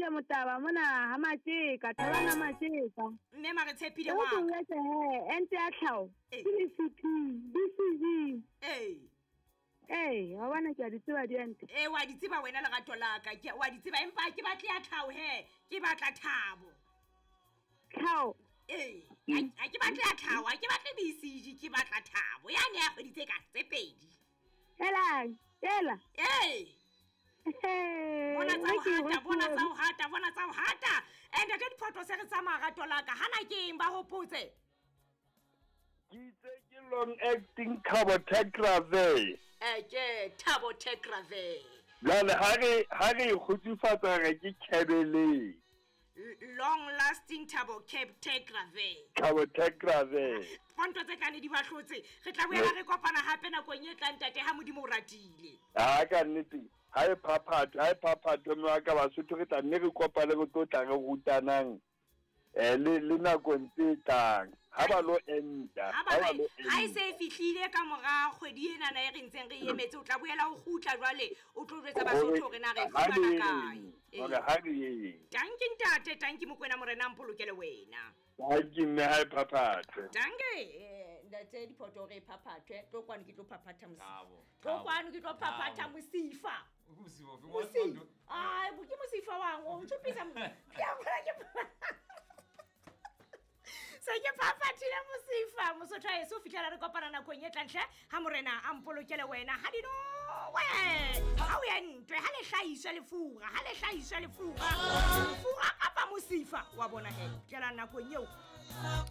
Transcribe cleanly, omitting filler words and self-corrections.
Retshepile Motaba mona ha Matjeka, Thabang ha Matjeka. Mme ma re tshepile E wa ke ka. jwetse he, ente ya tlhaho. Ee. Ke VCP, BCG. Ee. Ee, wa bona ke a di tseba diente. Ee, wa di tseba wena lerato la ka. Ke wa di tseba empa ha ke batle ya tlhaho he. Ke batla thabo. Tlhaho. Ee, ha ke batle ya tlhaho, ha ke batle BCG, ke batla thabo. Yane ya kgwedi tse ka tse pedi. Helang, ela. Ee. Bona tsa ho hata, bona tsa ho hata, bona tsa ho hata. Ntate Diphoto se re tsamaya rato la ka. Hana ke eng ba hopotse? Ke itse ke long acting cabotegravir. Ke cabotegravir. Jwale ha re ha re e kgutsufatsa re ke kebeleng. Long lasting cabotegravir. Cabotegravir. Fonto tse tlane di ba hlotse. Re tla boela re kopana hape nakong e tlang ntate ha Modimo o ratile. Ha ka nnete, ha e phaphatho, ha e phaphatho mme wa ka Basotho re tla nne re kopane re tlo tla re rutanang le le nakong tse tlang. Ha ba lo enta, Ha ha ba ba lo ha e enta. se e fihlile ka mora kgwedi enana e re ntseng re emetse, o tla boela o kgutla jwale o tlo jwetsa Basotho hore na re e Ha re fumana kae. yeng, hore ha re yeng. Tanki ntate, tanki Mokoena Morena a mpolokele wena. Tanki mme ha e phaphathwe. Tanki ntate Diphoto hore e phaphathwe. Tlo kwano ke tlo phaphatha mosifa. Thabo, Tlo Thabo, kwano ke tlo phaphatha Thabo. mosifa. Ke mosifa ofe? Mosifa. Ai, ke mosifa wang, o ntshupisa Ke a bona ke Se ke phaphathile mosifa. Mosotho a eso fihlela re kopana nakong e tlang hle. Ha Morena a mpolokele wena. Ha dinowe. Ha o ye ntwe, ha le hlahiswe lefura, ha le hlahiswe lefura. Lefura kapa mosifa wa bona he. Tlela nakong eo.